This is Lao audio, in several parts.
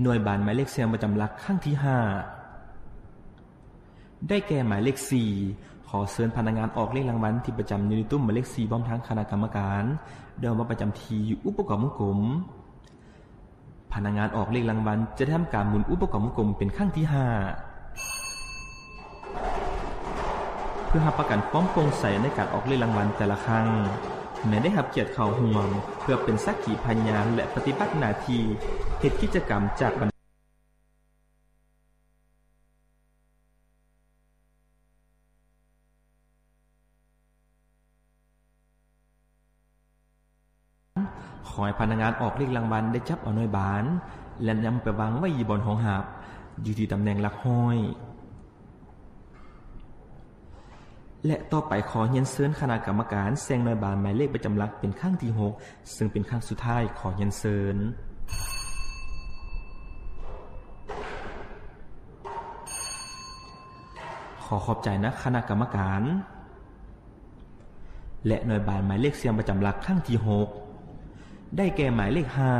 ໜ່ວຍບານໝາຍເລກສ່ຽງປະຈຳຫຼັກຄັ້ງທີຫ້າ ໄດ້ແກ່ໝາຍເລກສີ່. ຂໍເຊີນພະນັກງານອອກເລກລາງວັນທີ່ປະຈຳຢູ່ໃນຕຸ້ມໝາຍເລກສີ່ ພ້ອມທັງຄະນະກຳມະການ ໄດ້ອອກມາປະຈຳທີ່ຢູ່ອຸປະກອບວົງກົມ. ພະນັກງານອອກເລກລາງວັນຈະໄດ້ທຳການໝູນອຸປະກອບວົງກົມເປັນຄັ້ງທີຫ້າ ເພື່ອຮັບປະກັນຄວາມໂປ່ງໃສໃນການອອກເລກລາງວັນແຕ່ລະຄັ້ງ. ແມ່ນໄດ້ຮັບກຽດເຂົ້າຮ່ວມເພື່ອເປັນສັກຂີພະຍານ ແລະ ປະຕິບັດໜ້າທີ່ເຮັດກິດຈະກຳຈາກບັນ ຂໍໃຫ້ພະນັກງານອອກເລກລາງວັນໄດ້ຈັບເອົາໜ່ວຍບານ ແລະ ນຳໄປວາງໄວ້ຢູ່ບ່ອນຮອງຮັບ ຢູ່ທີ່ຕຳແໜ່ງຫຼັກຮ້ອຍ. ແລະ ຕໍ່ໄປຂໍຮຽນເຊີນຄະນະກຳມະການແສ່ງໜ່ວຍບານໝາຍເລກປະຈຳຫຼັກເປັນຄັ້ງທີຫົກ ເຊິ່ງເປັນຄັ້ງສຸດທ້າຍ. ຂໍຮຽນເຊີນ. ຂໍຂອບໃຈນະຄະນະກຳມະການ. ແລະ ໜ່ວຍບານໝາຍເລກສ່ຽງປະຈຳຫຼັກຄັ້ງທີຫົກ ໄດ້ແກ່ໝາຍເລກຫ້າ.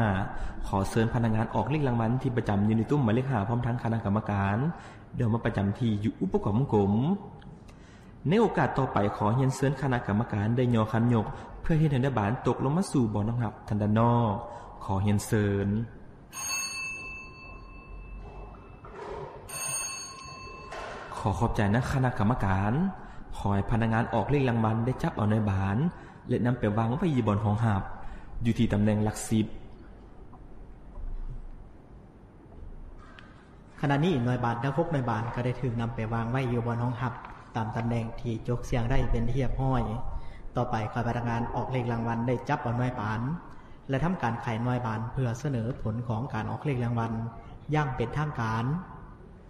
ຂໍເຊີນພະນັກງານອອກເລກລາງວັນທີ່ປະຈຳຢູ່ໃນຕຸ້ມໝາຍເລກຫ້າ ພ້ອມທັງຄະນະກຳມະການ ໄດ້ອອກມາປະຈຳທີ່ຢູ່ອຸປະກອບວົງກົມ. ໃນໂອກາດຕໍ່ໄປ ຂໍຮຽນເຊີນຄະນະກຳມະການໄດ້ຍໍຄັນຍົກ ເພື່ອເຮັດໃຫ້ໜ່ວຍບານຕົກລົງມາສູ່ບ່ອນຮອງຮັບທາງດ້ານນອກ. ຂໍຮຽນເຊີນ. ຂໍຂອບໃຈນະຄະນະກຳມະການ. ຂໍໃຫ້ພະນັກງານອອກເລກລາງວັນໄດ້ຈັບເອົາໜ່ວຍບານ ແລະ ນຳໄປວາງໄວ້ຢູ່ບ່ອນຮອງຮັບ ຢູ່ທີ່ຕຳແໜ່ງຫຼັກສິບ. ຂະນະນີ້ໜ່ວຍບານທັງຫົກໜ່ວຍບານກໍໄດ້ຖືກນຳໄປວາງໄວ້ຢູ່ບ່ອນຮອງຮັບ ຕາມຕຳແໜ່ງທີ່ຈົກສ່ຽງໄດ້ເປັນທີ່ຮຽບຮ້ອຍ. ຕໍ່ໄປ ຂໍໃຫ້ພະນັກງານອອກເລກລາງວັນໄດ້ຈັບເອົາໜ່ວຍບານ ແລະ ທຳການໄຂໜ່ວຍບານ ເພື່ອສະເໜີຜົນຂອງການອອກເລກລາງວັນຢ່າງເປັນທາງການ.